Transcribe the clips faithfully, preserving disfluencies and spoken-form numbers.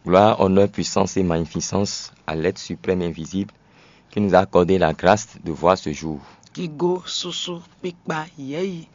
Gloire, honneur, puissance et magnificence à l'être suprême et invisible qui nous a accordé la grâce de voir ce jour. Kigo, susu, kpikpa, yɛyi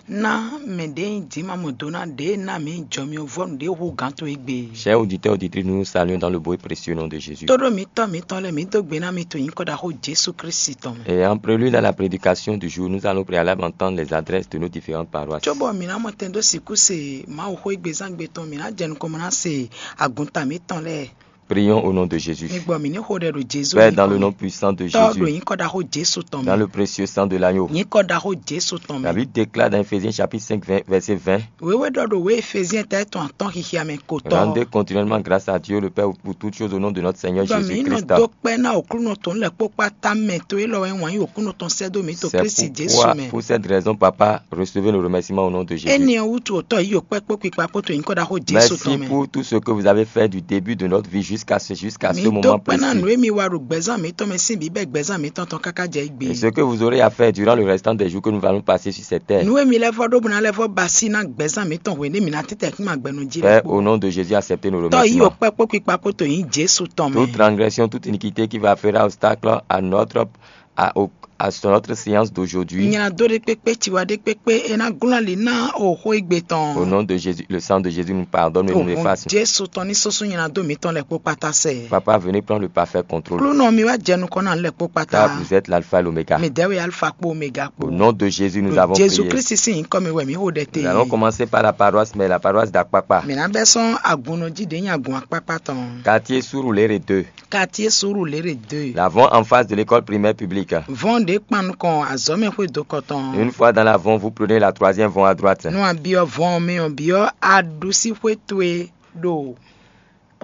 ná mɛ ɖě nyí dǐma mɔ do ná ɖě ná mǐ jɔ mì vɔ́nu ɖě hú gǎn towe gbe. Chers auditeurs, auditrices, nous nous saluons dans le beau et précieux nom de Jésus. Tóɖó mǐtɔn mǐtɔn lɛ́ɛ mǐ dó gbe ná mi to nyǐkɔ ɖaxó Jesu Kristi tɔn mɛ. Et en prélude à la prédication du jour, nous allons préalable entendre les adresses de nos différentes paroisses. Cóbɔ mǐ ná mɔ tɛn dó sixú se Mawu xwé gbezán gbe tɔn mǐ ná jɛ nukɔn mɔ ná se agunta mǐtɔn lɛ́ɛ. Prions au nom de Jésus. Mi gbɔ mǐ ní xo ɖɛ ɖo Jezu Père, dans le nom puissant de Tɔ́ ɖo Jésus, nyǐkɔ ɖaxó Jesu tɔn dans mɛ. Le précieux sang de l'agneau. Nyǐkɔ ɖaxó Jesu tɔn mɛ. La Bible déclare dans Éphésiens chapitre cinq, vingt, verset vingt. Wěwé ɖɔ ɖo wě Efeziɛn ta tɔn atɔ́n xixia mɛ ko tɔ́. Rendez continuellement grâce à Dieu le Père pour toutes choses au nom de notre Seigneur Gbɔ mǐ Jésus nɔ Christ. Do kpɛ́ ná Aklúnɔ tɔn lɛ́ kpó kpáta mɛ to élɔ́ wɛ wǎn yí Aklúnɔ tɔn sɛ́ dó mǐ to C'est Kristi Jesu pourquoi, mɛ. Pour cette raison, Papa, recevez nos remerciements au nom de Jésus. Énɛ́ ɔ́ wútu òtɔ́ yí yǒ kpɛ́ kpó kpikpa kpó to nyǐkɔ ɖaxó Jesu Merci tɔn mɛ. Pour tout ce que vous avez fait du début de notre vie jusqu'à ce, jusqu'à ce Mi dó moment kpɛ́ ná précis. Nǔ e mi wa ɖo gbɛzán mǐtɔn mɛ sín bǐbɛ́ gbɛzán mǐtɔn tɔn káká jɛ égbé. Et ce que vous aurez à faire durant le restant des jours que nous allons passer sur cette terre. Nǔ e mi lɛ́ vɔ́ ɖó bó ná lɛ́ vɔ́ ba sí ná gbɛzán mǐtɔn hwenu e mǐ ná títɛ́ kún agbɛnú jí Père, lɛ́ au kpó. Nom de Jésus, acceptez nos Tɔ́ yí yǒ remerciements. Kpɛ́ kpó kpikpa kpó to nyí Jesu tɔn mɛ. Toute transgression, toute iniquité qui va faire obstacle à notre à, au- à sur notre séance d'aujourd'hui. Nylá dó ɖé kpékpé tiwa ɖé kpékpé é ná glɔ́n ali ná o xó égbé tɔn. Au nom de Jésus, le sang de Jésus nous pardonne et nous Ogun efface. Jesu tɔn ní sɔ́sɔ́ nylá dó mǐtɔn lɛ́ kpó kpátá sɛ. Papa, venez prendre le parfait contrôle. Klúnɔ mi wá jɛ nukɔn ná lɛ́ kpó kpátá. Car vous êtes l'alpha et l'oméga. Mi dɛ́ wɛ alfa kpó oméga kpó. Au nom de Jésus, nous avons Jesu prié. Kristi sín nyǐkɔ mi wɛ mǐ xo ɖɛ Nous allons te. Commencer par la paroisse, mais la paroisse d'Akpakpa. Mǐ ná bɛ́ sɔ́n agun nɔ jí ɖě nyi agun akpákpá tɔn. Quartier Surulere deux. Quartier Surulere deux. L'avant en face de l'école primaire publique. Vɔn ɖě kpan nukɔn azɔ̌mɛxwé dokɔ tɔn. Une fois dans l'avant, vous prenez la troisième vont à droite. Nú a byɔ́ vɔn ɔ́ mɛ ɔ́, byɔ́ aɖusíxwé towe ɖo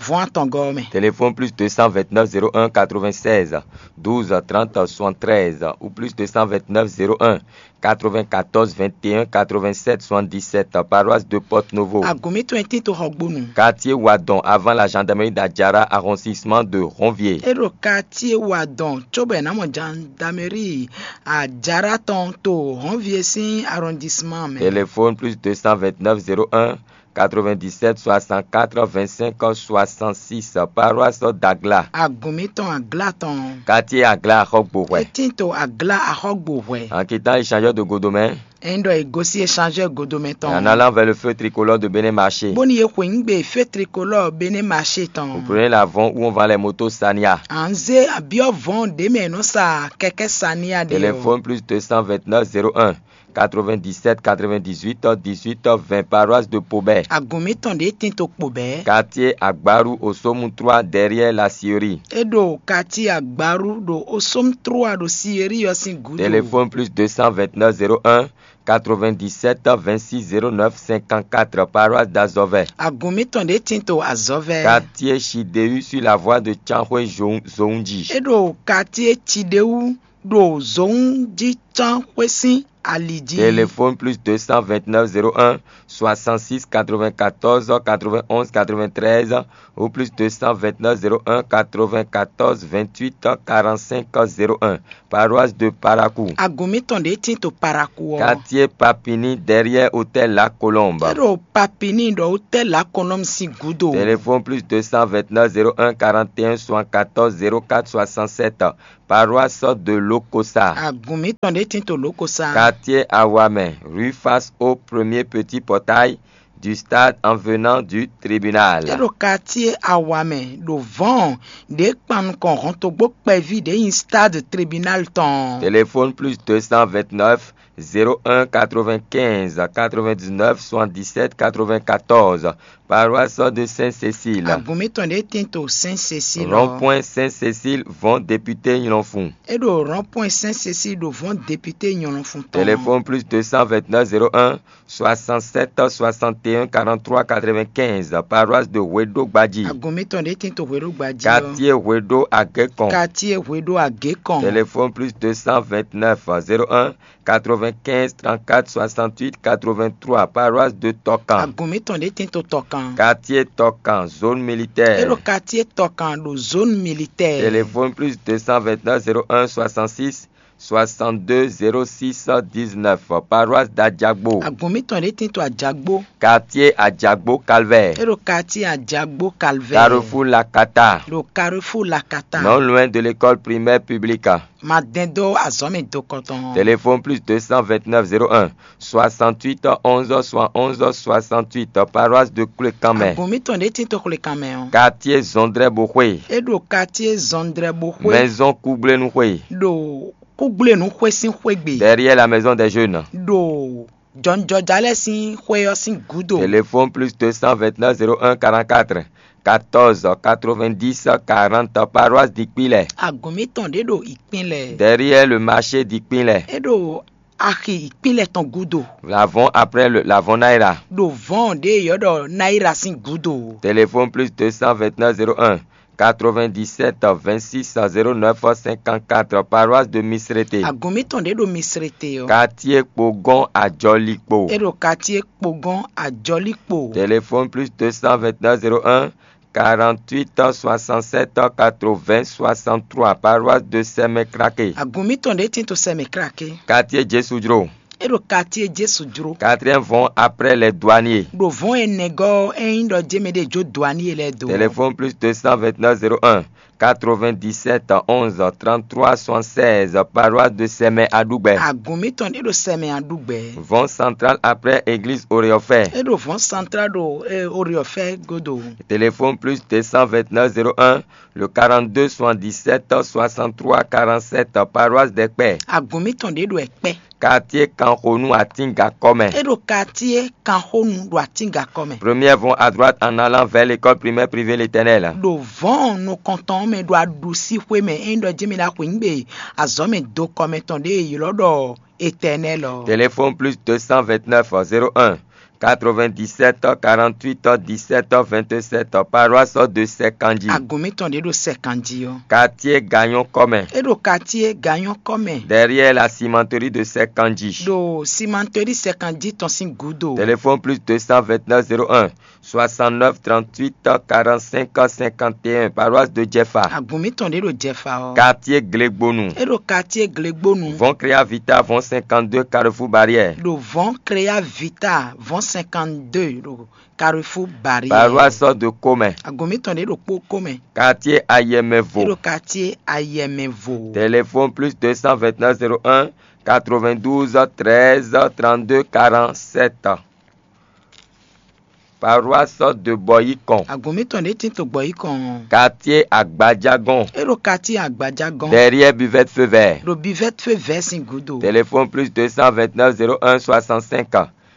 vɔn atɔngɔ́ ɔ́ mɛ. Téléphone plus deux cent vingt-neuf zéro un quatre-vingt-seize douze trente soixante-treize ou plus deux cent vingt-neuf zéro un quatre-vingt-quatorze vingt et un quatre-vingt-sept soixante-dix-sept, paroisse de Porto Novo. Agun mǐtɔn e tín to Xɔgbonu. Quartier Wadon, avant la gendarmerie d'Adjara, arrondissement de Ronvier. É ɖo quartier Wadon, cóbɔ è nǎ mɔ gendarmerie Adjara tɔn to Ronvier sín arrondissement mɛ. Téléphone plus deux cent vingt-neuf zéro un quatre-vingt-dix-sept soixante-quatre vingt-cinq soixante-six, paroisse d'Agla. Agun mǐtɔn Agla tɔn. Quartier Agla Axɔgbohwɛ. É tín to Agla Axɔgbohwɛ. En quittant échangeur de Godomɛ. Ényí ɖɔ è gosín échangeur Godomɛ tɔn. Et en allant vers le feu tricolore de Bénin Marché. Bóni è xweyǐgbe feu tricolore Bénin Marché tɔn. Vous prenez l'avant où on vend les motos Sania. À ń zé àbíọ́ vɔn ɖě mɛ è nɔ sa kɛkɛ́ Sania ɖe ɔ́. Téléphone plus deux cent vingt-neuf zéro un quatre-vingt-dix-sept quatre-vingt-dix-huit dix-huit vingt, paroisse de Pobɛ. Agun mǐtɔn ɖě tín to Pobɛ. Quartier Agbaru Osomu trois derrière la Siri. É ɖo quartier Agbaru ɖo Osomu trois ɖo Siri ɔ́ sín gǔdo. Téléphone plus deux cent vingt-neuf zéro un quatre-vingt-dix-sept vingt-six zéro neuf cinquante-quatre, paroisse d'Azɔvɛ. Agun mǐtɔn ɖě tín to Azɔvɛ. Quartier Chidéu sur la voie de Tsanxwé Zounji. É ɖo quartier Chidéu ɖo Zounji Tsanxwé sín ali jí. Téléphone plus deux cent vingt-neuf zéro un soixante-six quatre-vingt-quatorze quatre-vingt-onze quatre-vingt-treize ou plus deux cent vingt-neuf zéro un quatre-vingt-quatorze vingt-huit quarante-cinq zéro un, paroisse de Parakou. Agun mǐtɔn ɖě tín to Parakou ɔ́. Quartier Papini derrière hôtel La Colombe. É ɖo Papini ɖo hôtel La Colombe sín gúdo. Téléphone plus deux cent vingt-neuf zéro un quarante et un soixante-quatorze zéro quatre soixante-sept, paroisse de Lokosa. Agun mǐtɔn ɖě tín to Lokosa. Quartier Awamɛ, rue face au premier petit portail du stade en venant du tribunal. É ɖo quartier Awamɛ ɖo vɔn ɖě kpan nukɔn hɔntogbó kpɛví ɖě nyi stade tribunal tɔn. Téléphone plus deux cent vingt-neuf zéro un quatre-vingt-quinze quatre-vingt-dix-neuf soixante-dix-sept quatre-vingt-quatorze, paroisse de Sainte-Cécile. Agun mǐtɔn ɖě tín to Sainte-Cécile. Rond-point Sainte-Cécile vɔn député Nylɔnfun. É ɖo rond-point Sainte-Cécile ɖo vɔn député Nylɔnfun tɔn. Téléphone plus deux cent vingt-neuf zéro un soixante-sept soixante et un quarante-trois quatre-vingt-quinze, paroisse de Hweɖogbaji. Agun mǐtɔn ɖě tín to Hweɖogbaji ɔ́. Quartier Hweɖo Agékɔn. Quartier Hweɖo Agékɔn. Téléphone plus deux cent vingt-neuf zéro un quatre-vingt-quinze trente-quatre soixante-huit quatre-vingt-trois, paroisse de Tɔkan. Agun mǐtɔn ɖě tín to Tɔkan. Quartier Tɔkan, zone militaire. É ɖo quartier Tɔkan ɖo zone militaire. Téléphone plus deux cent vingt-neuf zéro un soixante-six soixante-deux zéro six dix-neuf, paroisse d'Adjagbo. Agun mǐtɔn ɖě tín to Ajagbo. Quartier Adjagbo Calvaire. É ɖo quartier Ajagbo Calvaire. Carrefour Lakata. Ɖo Carrefour Lakata. Non loin de l'école primaire publique. Ma dɛn dó azɔ̌ mɛ dokɔtɔn. Téléphone plus deux cent vingt-neuf zéro un soixante-huit onze soixante-onze soixante-huit, paroisse de Klékanmɛ. Agun mǐtɔn ɖě tín to Klékanmɛ ɔ́. Quartier Zɔndrɛboxwe. É ɖo quartier Zɔndrɛboxwe. Maison Kugblenu xwe. Ɖo Kúgblenu xwé sín xwégbe. Derrière la maison des jeunes. Ɖo jɔnjɔja lɛ́ɛ sín xwé ɔ́ sín gǔdo. Téléphone plus deux cent vingt-neuf zéro un quarante-quatre quatorze quatre-vingt-dix quarante, paroisse d'Ikpilɛ. Agun mǐtɔn ɖě ɖo Ikpilɛ. Derrière le marché d'Ikpilɛ. É ɖo axi Ikpilɛ tɔn gúdo. L'avant après le l'avant Naira. Ɖo vɔ̌n ɖě yɔ́ ɖɔ Naira sín gúdo. Téléphone plus deux cent vingt-neuf zéro un quatre-vingt-dix-sept vingt-six zéro neuf cinquante-quatre, paroisse de Misrete. Agun mǐtɔn ɖě ɖo Misrete ɔ́. Quartier Kpogɔn Ajɔlikpo. É ɖo quartier Kpogɔn Ajɔlikpo. Téléphone plus deux cent vingt-neuf zéro un quarante-huit soixante-sept quatre-vingts soixante-trois, paroisse de Sɛmɛkrake. Agun mǐtɔn ɖě tín to Sɛmɛkrake. Quartier Jesudro. É ɖo quartier Jesu jló. Quatrième vent après les douaniers. Ɖo vɔ̌n énɛ́ gɔ́ ɔ́, é nyí ɖɔ jémɛ ɖé jó douanier lɛ́ɛ dó. Téléphone plus deux cent vingt-neuf zéro un quatre-vingt-dix-sept onze trente-trois soixante-seize, paroisse de Sɛmɛ Aɖugbɛ. Agun mǐtɔn ɖé ɖo Sɛmɛ Aɖugbɛ. Vɔ̌n central après église Oreɔfɛ. É ɖo vɔ̌n central ɖo Oreɔfɛ godo. Téléphone plus deux cent vingt-neuf zéro un le quarante-deux soixante-dix-sept soixante-trois quarante-sept, paroisse d'Ɛkpɛ. Agun mǐtɔn ɖě ɖo Ɛkpɛ. Quartier Kanxonu Atíngakɔ́ mɛ. É ɖo quartier Kanxonu ɖo Atíngakɔ́ mɛ. Première vont à droite en allant vers l'école primaire privée L'Éternel. Ɖo vɔ̌n nukɔntɔn mɛ ɖo aɖusíxwé mɛ é nyí ɖɔ jí mi ná xweyǐgbe azɔ̌ mɛ do kɔmɛ tɔn ɖě e è ylɔ́ ɖɔ Éternel ɔ́. Téléphone plus deux cent vingt-neuf zéro un quatre-vingt-dix-sept quarante-huit dix-sept vingt-sept, paroisse de Sɛkanji. Agun mǐtɔn ɖě ɖo Sɛkanji ɔ́. Quartier Gagnon kɔmɛ. É ɖo quartier Gagnon kɔmɛ. Derrière la cimenterie de Sɛkanji. Ɖo cimenterie Sɛkanji tɔn sín gǔdo. Téléphone plus deux cent vingt-neuf zéro un soixante-neuf trente-huit quarante-cinq cinquante et un, paroisse de Jɛfa. Agun mǐtɔn ɖě ɖo Jɛfa ɔ́. Quartier Glegbonu. É ɖo quartier Glegbonu. Vɔn Créa Vita vɔn cinquante-deux Carrefour Barrière. Ɖo vɔn Créa Vita vɔn cinquante-deux ɖo Carrefour Barrière. Paroisse de Komɛ. Agun mǐtɔn ɖě ɖo kpó Komɛ. Quartier Ayɛmɛvo. É ɖo quartier Ayɛmɛvo. Téléphone plus deux cent vingt-neuf zéro un quatre-vingt-douze treize trente-deux quarante-sept. Paroisse de Bɔyikɔn. Agun mǐtɔn ɖě tín to Gbɔyikɔn. Quartier Agbajagɔn. É ɖo quartier Agbajagɔn. Derrière Buvette Feu Vert. Ɖo Buvette Feu Vert sín gǔdo. Téléphone plus deux cent vingt-neuf zéro un soixante-cinq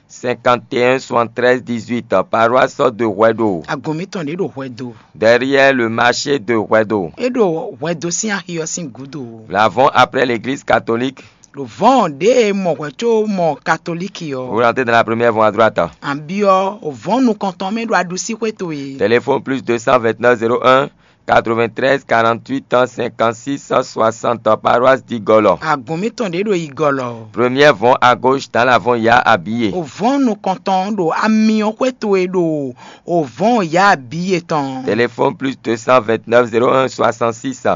cinquante et un soixante-treize dix-huit, paroisse de Hwɛdo. Agun mǐtɔn ɖě ɖo Hwɛdo. Derrière le marché de Hwɛdo. É ɖo Hwɛdo sín axi ɔ́ sín gǔdo. L'avant après l'église catholique. Ɖo vɔ̌n ɖě e mɔ hwɛ̌ có mɔ katolíki ɔ́. Vous rentrez dans la première vont à droite. An byɔ́ vɔ̌n nukɔntɔn mɛ ɖo aɖusíxwé towe. Téléphone plus deux cent vingt-neuf zéro un quatre-vingt-treize quarante-huit cinquante-six soixante, paroisse d'Igɔlɔ. Agun mǐtɔn ɖě ɖo Igɔlɔ. Première vont à gauche dans l'avant ya Abiye. Ovɔ̌n nukɔntɔn ɖo amyɔxwé towe ɖo ovɔ̌n ya Abiye tɔn. Téléphone plus deux cent vingt-neuf zéro un soixante-six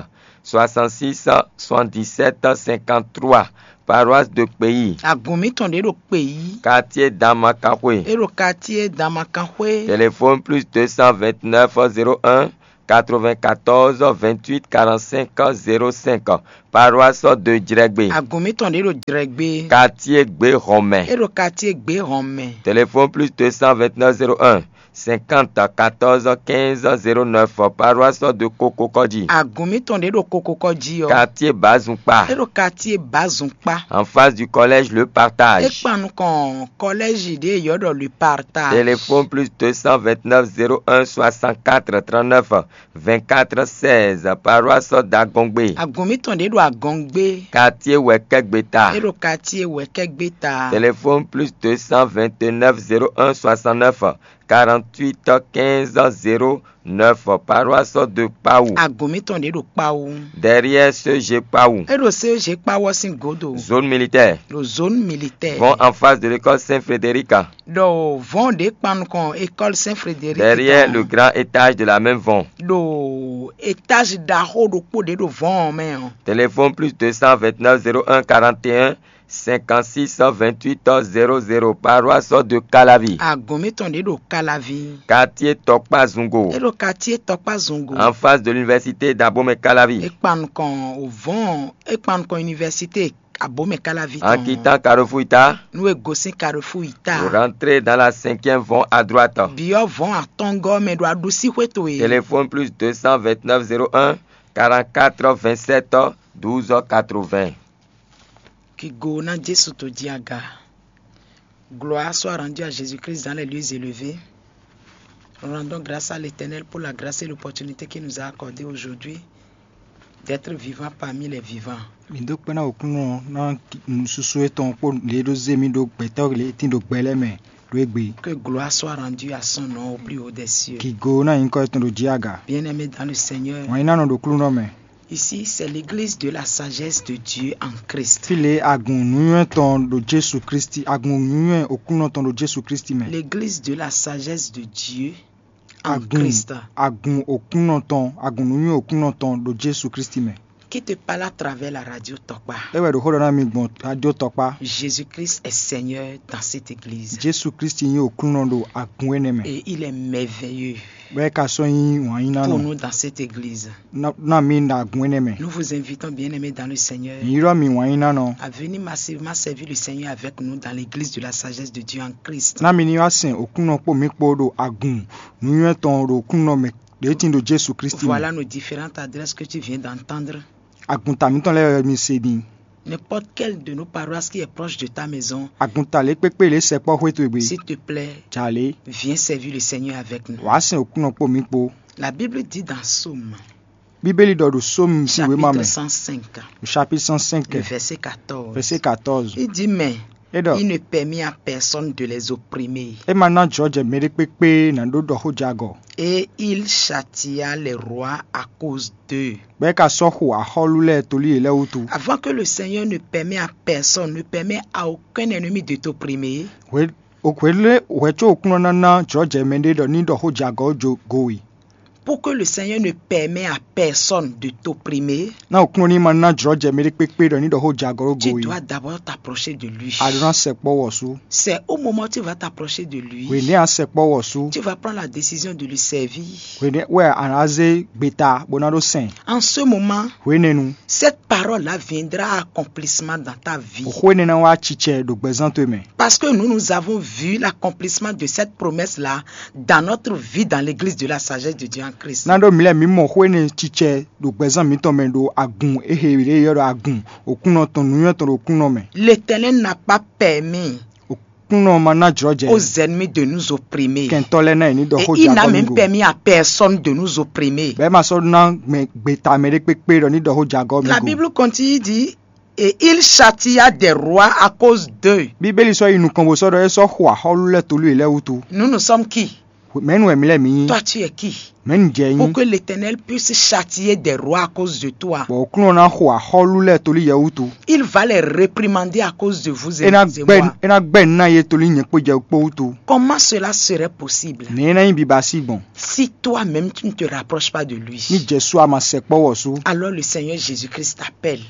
soixante-six soixante-dix-sept cinquante-trois, paroisse de Kpeyi. Agun mǐtɔn ɖě ɖo Kpeyi. Quartier Damakanxwe. É ɖo quartier Damakanxwe. Téléphone plus deux cent vingt-neuf zéro un quatre-vingt-quatorze vingt-huit quarante-cinq zéro cinq, paroisse de Jrɛgbe. Agun mǐtɔn ɖě ɖo Jrɛgbe. Quartier Gbehɔnmɛ. É ɖo quartier Gbehɔnmɛ. Téléphone plus deux cent vingt-neuf zéro un cinquante quatorze quinze zéro neuf, paroisse de Kokokɔji. Agun mǐtɔn ɖě ɖo Kokokɔji ɔ́. Quartier Bazunpa. É ɖo quartier Bazunpa. En face du collège Le Partage. É kpan nukɔn kɔlɛ́zi ɖě e yɔ́ ɖɔ Le Partage. Téléphone plus deux cent vingt-neuf zéro un soixante-quatre trente-neuf vingt-quatre seize, paroisse d'Agɔngbe. Agun mǐtɔn ɖě ɖo Agɔngbe. Quartier Wɛkɛgbeta. É ɖo quartier Wɛkɛgbeta. Téléphone plus deux cent vingt-neuf zéro un soixante-neuf quarante-huit quinze zéro neuf, paroisse de Kpawu. Agun mǐtɔn ɖě ɖo Kpawu. Derrière C G Kpawu. É ɖo C G Kpawu ɔ́ sín gǒdo. Zone militaire. Ɖo zone militaire. Vont en face de l'école Saint-Frédéric. Ɖo vɔn ɖě kpan nukɔn école Saint-Frédéric. Derrière le grand étage de la même vont. Ɖo étage ɖaxó ɖokpó ɖě ɖo vɔn ɔ́ mɛ ɔ́. Téléphone plus deux cent vingt-neuf zéro un quarante et un cinquante-six vingt-huit zéro zéro, paroisse de Calavi. Agun mǐtɔn ɖě ɖo Calavi. Quartier Tɔkpa Zungo. É ɖo quartier Tɔkpa Zungo. En face de l'université d'Abomey Calavi. É kpan nukɔn o vɔn, é kpan nukɔn université Abomey Calavi. En quittant Carrefour Ita. Nú è gosín Carrefour Ita. Vous rentrez dans la cinquième vont à droite. Biɔ vɔn atɔngɔ mɛ ɖo aɖusí xwé towe. Téléphone plus deux cent vingt-neuf zéro un quarante-quatre vingt-sept douze quatre-vingts. Kigo na Jésus to jí aga. Gloire soit rendue à Jésus-Christ dans les lieux élevés. Rendons grâce à l'Éternel pour la grâce et l'opportunité qu'il nous a accordée aujourd'hui d'être vivants parmi les vivants. Mǐ dó kpɛ́ ná Aklúnɔ ná nǔsúsú étɔn kpó lě e ɖó zé mì ɖó gbɛtɔ́ lě e tín ɖo gbɛ lɛ́ɛ mɛ ɖó égbé. Que gloire soit rendue à son nom au plus haut des cieux. Kigo ná nyǐkɔ étɔn ɖo jí aga. Bien-aimés dans le Seigneur, Wǎn yí ná nɔ ɖo Aklúnɔ mɛ. Ici, c'est l'église de la sagesse de Dieu en Christ. Fí lě agun nǔnywɛ́ tɔn ɖo Jesu Kristi, agun nǔnywɛ́ Aklúnɔ tɔn ɖo Jesu Kristi mɛ. L'église de la sagesse de Dieu en Agun Christ. Agun Aklúnɔ tɔn, agun nǔnywɛ́ Aklúnɔ tɔn ɖo Jesu Kristi mɛ. Qui te parle à travers la radio Tokpa. É wɛ ɖo xó ɖɔ ná mi gbɔn radio Tɔkpa. Jésus-Christ est Seigneur dans cette église. Jesu Kristi nyí Aklúnɔ ɖo agun énɛ́ mɛ. Et il est merveilleux Bɔ é ka sɔ́ nyí wǎn yí ná pour nɔ nous dans cette église. Ná ná mi ɖo agun énɛ́ mɛ. Nous vous invitons, bien-aimés dans le Seigneur, Mǐ ylɔ́ mi wǎn yí ná nɔ. À venir massivement servir le Seigneur avec nous dans l'église de la sagesse de Dieu en Christ. Ná mi ní wá sɛn Aklúnɔ kpó mǐ kpó ɖo agun nǔnywɛ́ tɔn ɖo Aklúnɔ mɛ ɖě tín ɖo Jesu Kristi mɛ. Voilà nos différentes adresses que tu viens d'entendre. Agunta mǐtɔn lɛ́ɛ wɛ mi se din. N'importe quelle de nos paroisses qui est proche de ta maison, Agunta lě kpékpé lě sɛkpɔ́ xwé towe gbe. S'il te plaît, Jalě. Viens servir le Seigneur avec nous. Wǎ sɛn Aklúnɔ kpó mǐ kpó. La Bible dit dans Psaume, Bíbélì ɖɔ ɖo Sómu sín wěma chapitre mɛ, cent cinq, le chapitre cent cinq, le verset quatorze. Verset quatorze. Il dit, mais É ɖɔ il ne permet à personne de les opprimer. É ma ná jlɔ́jɛ mɛɖé kpékpé ná ɖó ɖɔ xó jɛ agɔ. Et il châtia les rois à cause d'eux. Bɔ é ka sɔ́ xo axɔ́lú lɛ́ɛ tolí yě lɛ́ɛ wútu. Avant que le Seigneur ne permet à personne, ne permet à aucun ennemi de t'opprimer. Hwe hwe lé hwɛ có Aklúnɔ ná ná jlɔ́jɛ mɛɖé ɖɔ ní ɖɔ xó jɛ agɔ ɔ́ jó go we. Pour que le Seigneur ne permet à personne de t'opprimer, Ná Aklúnɔ ní ma ná jlɔ́jɛ mɛɖé kpékpé ɖɔ ní ɖɔ xó jɛ agɔ ɖó go tu we. Dois d'abord t'approcher de lui. A ɖó ná sɛkpɔ́ wɔ sú. C'est au moment où tu vas t'approcher de lui, Hwenɛ́ a sɛkpɔ́ wɔ sú. Tu vas prendre la décision de lui servir. Hwenɛ́ wɛ a nǎ zé gbeta bó ná ɖó sɛn. En ce moment, Hwenɛ́nu, cette parole-là viendra à accomplissement dans ta vie. Xó énɛ́ ná wá cicɛ ɖo gbɛzán towe mɛ. Parce que nous, nous avons vu l'accomplissement de cette promesse-là dans notre vie, dans l'église de la sagesse de Dieu en Christ. Ná ɖó mǐ lɛ́ɛ mǐ mɔ xó énɛ́ cicɛ ɖo gbɛzán mǐtɔn mɛ ɖo agun e he ɖě ylɔ́ ɖɔ agun Aklúnɔ tɔn nǔnywɛ́ tɔn ɖo Aklúnɔ mɛ. L'Éternel n'a pas permis Aklúnɔ ma ná jlɔ́jɛ aux ennemis de nous opprimer. Kɛntɔ́ lɛ́ɛ ná yě ní ɖɔ Et xó il jɛ n'a agɔ même mì go. Permis à personne de nous opprimer. Bɔ é ma sɔ́ ná mɛ gbeta mɛɖé kpékpé ɖɔ ní ɖɔ xó jɛ agɔ mì La go. Bible continue, dit, et il châtia des rois à cause d'eux. Bíbélì sɔ́ yi nukɔn bó sɔ́ ɖɔ é sɔ́ xo axɔ́lú lɛ́ɛ tolú yě lɛ́ɛ wútu. Nous, nous sommes qui? Mɛ̌nu wɛ mǐ lɛ́ɛ mǐ nyí? Toi, tu es qui? Mɛ̌nu jɛ Pour nyí? Que l'Éternel puisse châtier des rois à cause de toi. Bɔ Aklúnɔ ná xo axɔ́lú lɛ́ɛ tolí yɛ wútu. Il va les réprimander à cause de vous et, É ná et gbɛ́ moi. É ná gbɛ́ nǔ ná yě tolí nyɛ kpó jɛ kpó wútu. Comment cela serait possible? Nɛ̌ é ná nyí biba sí gbɔn? Si toi-même tu ne te rapproches pas de lui, Ní Jɛsu a ma sɛkpɔ́ wɔ sú. Alors le Seigneur Jésus-Christ t'appelle.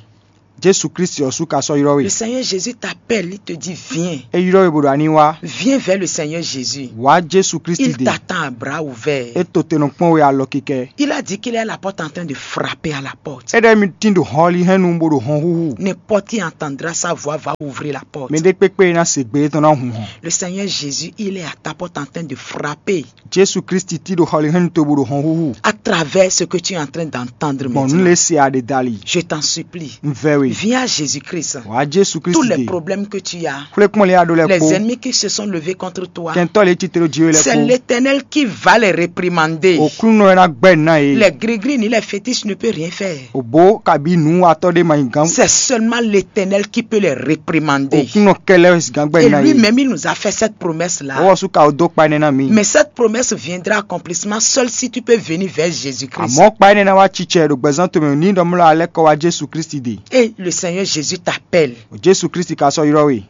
Jesu Kristi ɔ́ sú ka sɔ́ ylɔ́ we. Le Seigneur Jésus t'appelle, il te dit, viens. É ylɔ́ we bó ɖɔ a ní wá. Viens vers le Seigneur Jésus. Wá Jesu Kristi Il dé. T'attend à bras ouverts. É to te nɔ kpɔ́n we alɔ kikɛ. Il a dit qu'il est à la porte en train de frapper à la porte. É ɖɔ émí tín ɖo hɔnlihɛ́nnu bó ɖo hɔn húhú. N'importe qui entendra sa voix va ouvrir la porte. Mɛ ɖé kpékpé e ná se gbe étɔn ná hun hɔn. Le Seigneur Jésus, il est à ta porte en train de frapper. Jesu Kristi tí ɖo hɔnlihɛ́nnu towe bó ɖo hɔn húhú. À travers ce que tu es en train d'entendre maintenant. Gbɔn nǔ lě se a ɖe dali. Je t'en supplie. Un vɛ we. Viens à Jésus-Christ. Wǎ Jésù Tous Kristi les ɖe. Problèmes que tu as, Xwlékpɔ́n lě a ɖó lɛ́ɛ les kpó. Ennemis qui se sont levés contre toi, Kɛntɔ́ lě titlo jí we lɛ́ɛ c'est kpó. L'Éternel qui va les réprimander. Òkúnnɔ ɛ ná gbɛ́ nǔ ná yě. Les gris-gris ni les fétiches ne peuvent rien faire. Òbó kabí nǔwatɔ́ ɖé ma nyi gán. C'est seulement l'Éternel qui peut les réprimander. Òkúnnɔ kɛlɛ gán gbɛ́ Et nǔ ná yě. Lui-même, il nous a fait cette promesse-là. Owó sú ka o dó kpa énɛ́ ná mi. Mais cette promesse viendra accomplissement seul si tu peux venir vers Jésus-Christ. Àmọ́ kpa énɛ́ ná wá cicɛ ɖo gbɛzán tomɛ ní ɖɔmlɔ alɛ́ kɔ wá Jésù Kristi ɖe. Et le Seigneur Jésus t'appelle Jésù Kristi ka sɔ́ ylɔ́ we.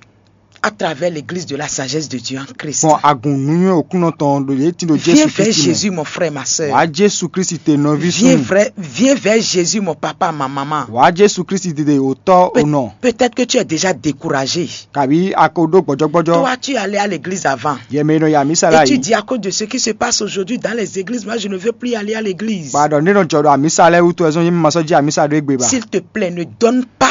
À travers l'église de la sagesse de Dieu en Christ. Gbɔn agun nǔnywɛ́ òkúnnɔ tɔn ɖo yě tin ɖo Jésù Kristi mɛ. Viens vers Jésus, mon frère, ma sœur. Wǎ Jésù Kristi te nɔví súnnu. Viens vers Jésus, mon papa, ma maman. Wǎ Jésù Kristi te òtɔ́ ònɔ. Peut-être que tu es déjà découragé. Kabí a ko ɖó gbɔjɔgbɔjɔ. Toi, tu es allé à l'église avant. Yɛ mɛ e nɔ yi amisa la yi. Et tu dis à cause de ce qui se passe aujourd'hui dans les églises, moi je ne veux plus aller à l'église. Ba ɖɔ ne nɔ jɔ ɖo amisa lɛ wútu wɛ zɔn yé ma sɔ́ jí amisa ɖo égbé ba. S'il te plaît, ne donne pas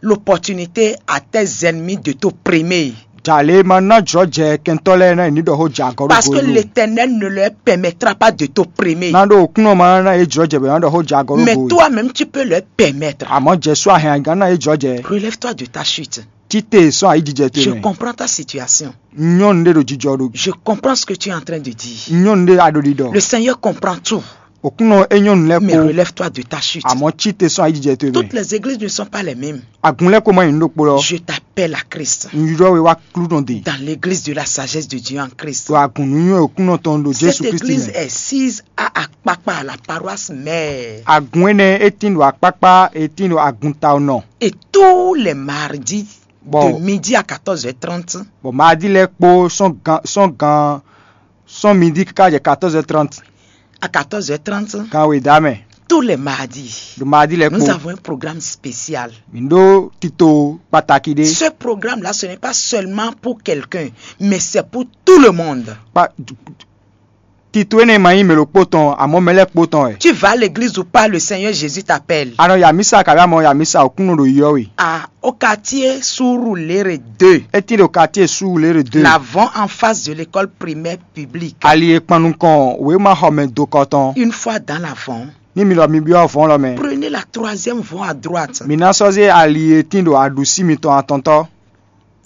l'opportunité à tes ennemis de t'opprimer. Jale ma ná jɔ jɛ kɛntɔ lɛ na ni ɖɔ ho jɛ agɔ. Parce que l'Éternel ne leur permettra pas de t'opprimer. Na ɖo kunɔ ma na ye jɔ jɛ bɛ na ɖɔ ho jɛ agɔ. Mais toi-même, tu peux leur permettre. Àmọ́ Jésù ahɛn gan na ye jɔ jɛ. Relève-toi de ta chute. Tite sɔn ayi jijɛ to. Je comprends ta situation. Nyɔnu ɖe ɖo jijɔ ɖo. Je comprends ce que tu es en train de dire. Nyɔnu ɖe aɖo ɖiɖɔ. Le Seigneur comprend tout. Òkúnnɔ é nyɔnu lɛ́ kpó. Mais relève-toi de ta chute. Àmọ́ tite sɔn ayi jijɛ to mɛ. Toutes les églises ne sont pas les mêmes. Agun lɛ́ kó ma nyí nú ɖokpó lɔ. Je t'appelle à Christ. Un ylɔ́ we wá klúnɔ de. Dans l'église de la sagesse de Dieu en Christ. Ɖo agun nǔnywɛ́ òkúnnɔ tɔn ɖo Jésù Kristi mɛ. Cette église est sise à Akpakpa, la paroisse mère. Agun énɛ́ é tín ɖo akpákpá, é tín ɖo agun ta nɔ. Et tous les mardis, de midi à quatorze heures trente. Bɔ madi lɛ́ɛ kpó sɔn gan sɔn gan sɔn midi káká jɛ quatorze heures trente. À quatorze heures trente, gan wědá mɛ. Tous les mardis, ɖo madi lɛ́ɛ kpó. Nous avons un programme spécial. Mi ɖó tito pàtàkì ɖé. Ce programme-là, ce n'est pas seulement pour quelqu'un, mais c'est pour tout le monde. Pa, tito énɛ́ ma nyí mɛ ɖokpó tɔn, àmọ́ mɛ lɛ́ɛ kpó tɔn wɛ. Tu vas à l'église ou pas, le Seigneur Jésus t'appelle. A nɔ yi amisa kabi amɔ yi amisa òkúnnɔ ɖo yɔ we. À, au quartier Surulere deux. É tín ɖo quartier Surulere deux. L'avant en face de l'école primaire publique. Ali e kpan nukɔn wěma xɔ mɛ dokɔ tɔn. Une fois dans l'avant, ní mi lɔ mi byɔ́ vɔ̌n lɔ mɛ. Prenez la troisième voie à droite. Mi ná sɔ́ zé ali e tín ɖo aɖǔsí mitɔn atɔntɔ́.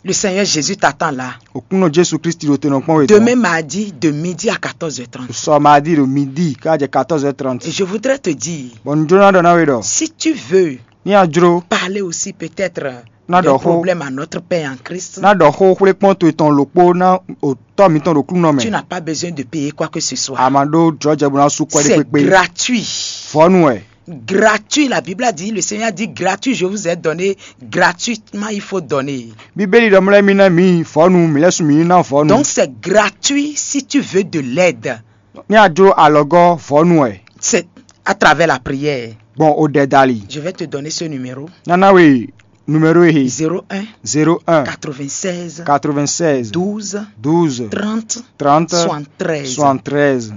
Le Seigneur Jésus t'attend là. Òkúnnɔ Jésù Kristi ɖo te nɔ kpɔ́n we tɔn. Demain mardi de midi à quatorze heures trente. Sɔ madi ɖo midi ká jɛ quatorze heures trente. Et je voudrais te dire, bɔ un jló ná ɖɔ ná we ɖɔ. Si tu veux, ní a jló, parler aussi peut-être ná de ɖɔ xó problème à notre Père en Christ, ná ɖɔ xó xwlé kpɔ́n to tɔn lǒkpó ná òtɔ́ mitɔn ɖo klúnɔ mɛ. Tu n'as pas besoin de payer quoi que ce soit. A ma ɖó jlɔ́jɛ bó ná sú kwɛ́ ɖé kpékpé. C'est gratuit. Vɔ̌nu wɛ. Gratuit, la Bible a dit, le Seigneur a dit, gratuit, je vous ai donné, gratuitement, il faut donner. Bíbélì ɖɔ mlɛ́ mi ná mi vɔ̌nu, mi lɛ́ su mi ná vɔ̌nu. Donc, c'est gratuit si tu veux de l'aide. Ní a jló alɔgɔ́ vɔ̌nu wɛ. C'est à travers la prière. Gbɔn o ɖɛ dali. Je vais te donner ce numéro. Nana we numéro ehe. Zéro un, zéro un, quatre-vingt-seize, quatre-vingt-seize, douze, douze, trente, trente, soixante-treize. Soixante-treize.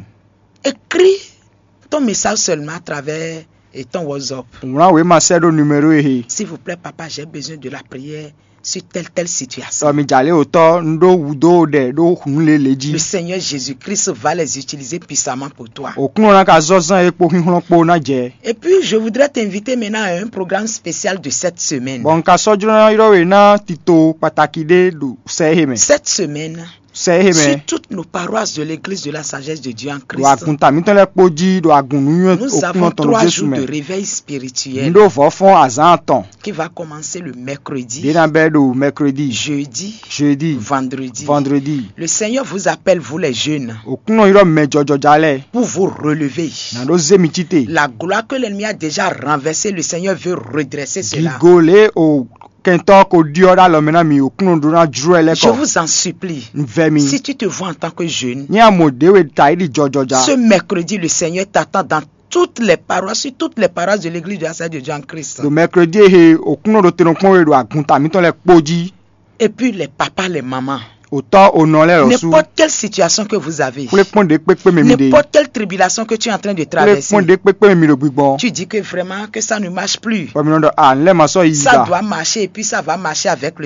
Écris ton message seulement à travers et ton WhatsApp. Wlán wěma sɛ́ ɖó numéro ehe. S'il vous plaît, papa, j'ai besoin de la prière sur telle, telle situation. Ɔ mi jǎ lé òtɔ́ un ɖó wǔdó ɖɛ ɖó nǔ lě lě jí. Le Seigneur Jésus-Christ va les utiliser puissamment pour toi. Òkúnnɔ ná ka zɔ́ zán e kpó xínxlɔ́n kpó ná jɛ. Et puis, je voudrais t'inviter maintenant à un programme spécial de cette semaine. Bɔn un ka sɔ́ jló ná ylɔ́ we ná tito pàtàkì ɖé ɖo sɛ ehe mɛ. Cette semaine, sɛ ehe mɛ. Sur toutes nos paroisses de l'église de la sagesse de Dieu en Christ, ɖo agunta mítɔn lɛ́ɛ kpó jí ɖo agun nǔnywɛ́ òkúnnɔ tɔn ɖo Jésù mɛ. Nous avons trois jours de réveil spirituel. Un ɖó vɔ̌ fɔ́n azǎn atɔn. Qui va commencer le mercredi. Ɖé ná bɛ́ ɖo mercredi. Jeudi. Jeudi. Vendredi. Vendredi. Le Seigneur vous appelle, vous les jeunes. Òkúnnɔ ylɔ́ mɛ jɔjɔja lɛ́ɛ. Pour vous relever. Ná ɖó zé mi cí te. La gloire que l'ennemi a déjà renversée, le Seigneur veut redresser cela. Gigo lě o kɛntɔ́ ko ɖyɔ́ ɖó alɔ mɛ ná mi òkúnnɔ ɖó ná jló ɛ lɛ́ kɔ. Je vous en supplie. Un vɛ mi. Si tu te vois en tant que jeune, ní a mɔ ɖě we ta yi ɖi jɔjɔja. Ce mercredi, le Seigneur t'attend dans toutes les paroisses, sur toutes les paroisses de l'église de la sagesse de Dieu en Christ. Ɖo mercredi ehe òkúnnɔ ɖo tenɔkpɔn we ɖo agunta mítɔn lɛ́ɛ kpó jí. Et puis les papas, les mamans. Òtɔ́ ònɔ lɛ́ɛ lɔ sú. N'importe quelle situation que vous avez. Xwlé kpɔ́n ɖě kpékpé mɛ mi ɖe. N'importe quelle tribulation que tu es en train de traverser. Xwlé kpɔ́n ɖě kpékpé mɛ mi ɖo gbigbɔn. Tu dis que vraiment que ça ne marche plus. Bɔ mi nɔ ɖɔ a n lɛ ma sɔ́ yi ça doit marcher et puis ça va marcher avec le